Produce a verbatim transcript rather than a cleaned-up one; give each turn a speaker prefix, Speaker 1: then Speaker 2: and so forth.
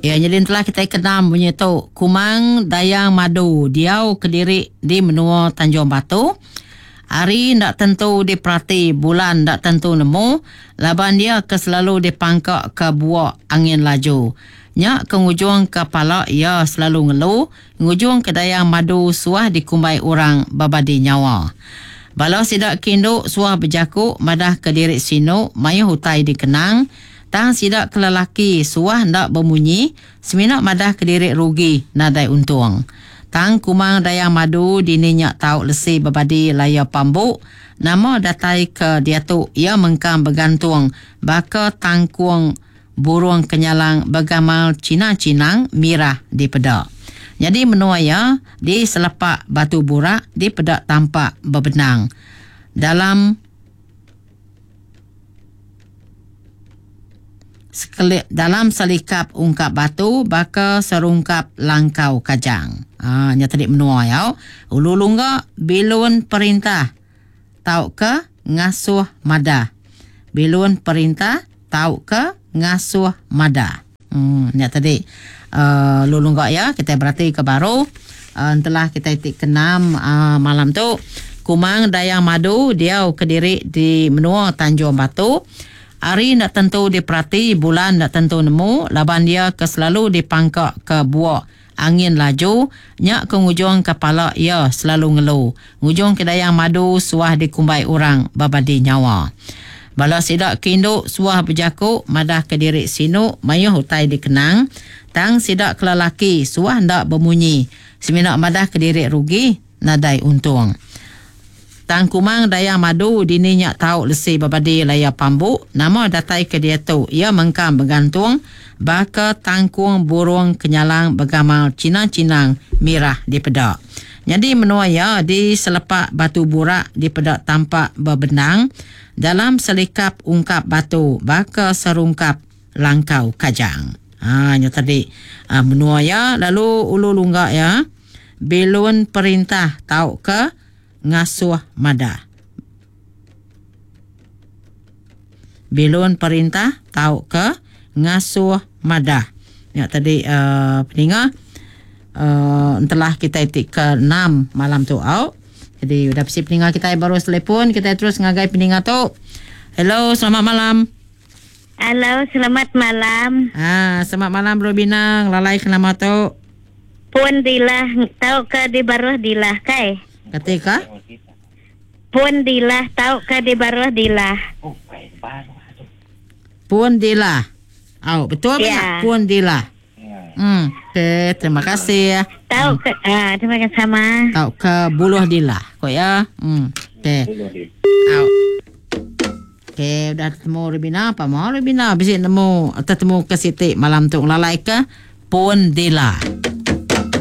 Speaker 1: Ya, jadi telah kita kenam bunyi tu Kumang Dayang Madu diau kediri di menua Tanjung Batu. Hari ndak tentu diperhati, bulan ndak tentu nemu, laban dia ke selalu dipangkak ke buak angin laju. Nya ke ngujung kepala ia selalu ngelu, ngujung ke Dayang Madu suah dikumbai orang babadi nyawa. Bala sidak kindu suah berjaku madah ke diri sinu mayuh utai dikenang. Tang sidak kelelaki suah ndak bermunyi, semina madah ke diri rugi nadai untung. Tang Kumang Dayang Madu dini nyak tau lesi berbadi laya pambuk, nama datai ke diatu ia mengkang bergantung baka tangkung burung kenyalang bergamal Cina-Cinang mirah di pedak. Jadi menua ia di selepak batu burak di pedak tampak berbenang. Dalam sekelip dalam selikap ungkap batu baka serungkap langkau kajang. Ah, nya tadi menua ya. Ulu lungga bilun perintah tau ke ngasuh madah. Bilun perintah tau ke ngasuh madah. Hmm, nya tadi uh, ulu lungga ya kita berarti ke baru uh, telah kita tik kenam uh, malam tu Kumang Dayang Madu diau kediri di menua Tanjung Batu. Hari nak tentu diperhati, bulan nak tentu nemu, laban dia ke selalu dipangkak ke buak angin laju, nyak ke ngujung kepala ia selalu ngelu. Ngujung ke Dayang Madu suah dikumbai orang babadi nyawa. Bala sidak kindu suah berjaku madah ke diri sinu mayuh utai dikenang, tang sidak kelelaki suah ndak bermunyi, semina madah ke diri rugi nadai untung. Tang Kumang Dayang Madu dini nyak tau lesi babadi laya pambuk, nama datai ke dia tu ia mengkang bergantung baka tangkung burung kenyalang bergamal Cina-Cinang mirah di pedak. Jadi menua ia di selepak batu burak di pedak tampak berbenang dalam selikap ungkap batu baka serungkap langkau kajang. Ha, nya tadi ha, menua ia lalu ulu lunggak ya bilun perintah tau ke ngasuh madah. Bilun perintah tau ke ngasuh madah. Ya tadi uh, peninga uh, telah kita tik ke enam malam tu au. Jadi udah besi peninga kita baru telepon, kita terus ngagai peninga tu. Hello, selamat malam.
Speaker 2: Halo, selamat malam.
Speaker 1: Ah, selamat malam Robina, lalai ke nama tu?
Speaker 2: Puan Dilah, tau ke di baruh Dilah kai?
Speaker 1: Ketika?
Speaker 2: Puan Dilah, tau ke di baruh Dilah.
Speaker 1: Puan Dilah. Oh, betul
Speaker 2: ya.
Speaker 1: Benar? Puan Dilah. Hmm, okey, terima kasih ya.
Speaker 2: Tahu ke ah, terima kasih sama.
Speaker 1: Tahu ke buluh Dilah, kok ya. Hmm, okey. Au. Okey, udah ketemu Rubina, apa mau Rubina? Bisi nemu ketemu ke Siti malam tu lalai ke Puan Dilah.